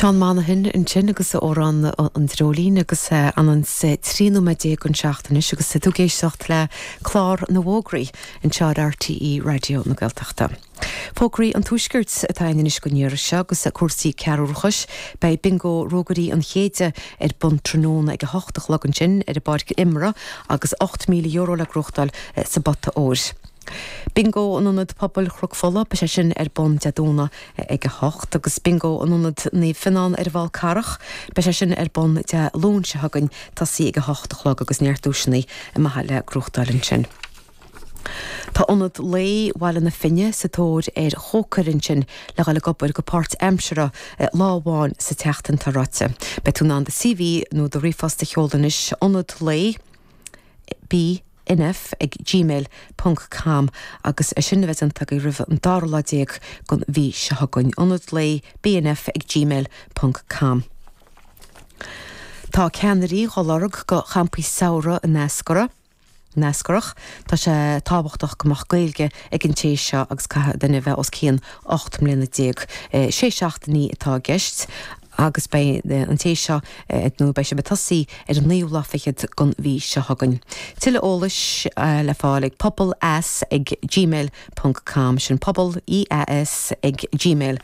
Seán Monaghan ansin agus a amhrán An Dreoilín agus anonn 13 nóiméad don seacht anois agus tú ag éisteacht le clár na bhfógraí anseo ar RTÉ Raidió na Gaeltachta. Fógraí an Tuaiscirt atá againn anois don iarraidh seo agus cúrsaí cearrbhachais. Beidh Bingo Ruagairí an Chéide ar bun tráthnóna ag 8 a chlog ansin ar an bPáirc Imeartha agus €8,000 le gnóthachtáil sa bpota óir. Bingo in Ionad Pobail Chnoc Fola, beidh sé sin ar bun Dé Domhnaigh ag 8 agus Bingo in Ionad Naomh Fionán ar an bhFál Carrach, beidh sé sin ar bun Dé Luain seo chugainn, tosaí ag 8 a chlog agus neart duaiseanna maithe le gnóthachtáil ansin. Tá Ionad Lae Bhaile na Finne sa tóir ar chócaire ansin le dhul ag obair go páirtaimseartha lá amháin sa tseachtain tá ráite. Beidh tú in ann do CV nó do ríomhphost a sheoladh anois, Ionad Lae B. nf ag gmail ponc com agus é sin a bheith déanta agaibh roimh an dara lá déag den mhí seo chugainn. Ionad Lae BNF ag gmail ponc com. Tá ceannairí dhá lorg go champaí samhraidh in Eascarrach. Eascarrach. Tá sé tábhachtach go mbeadh Gaeilge ag an té seo agus caithfidh duine a bheith os cionn 18 mbliana. Sé seachtainí atá i gceist agus beidh an té seo, nó beidh sibh ag tosaí ar an naoú lá fichead den mhí seo chugainn. Tuilleadh eolais le fáil ag pobal eas ag gmail ponc com, sin pobal, E A S, ag gmail.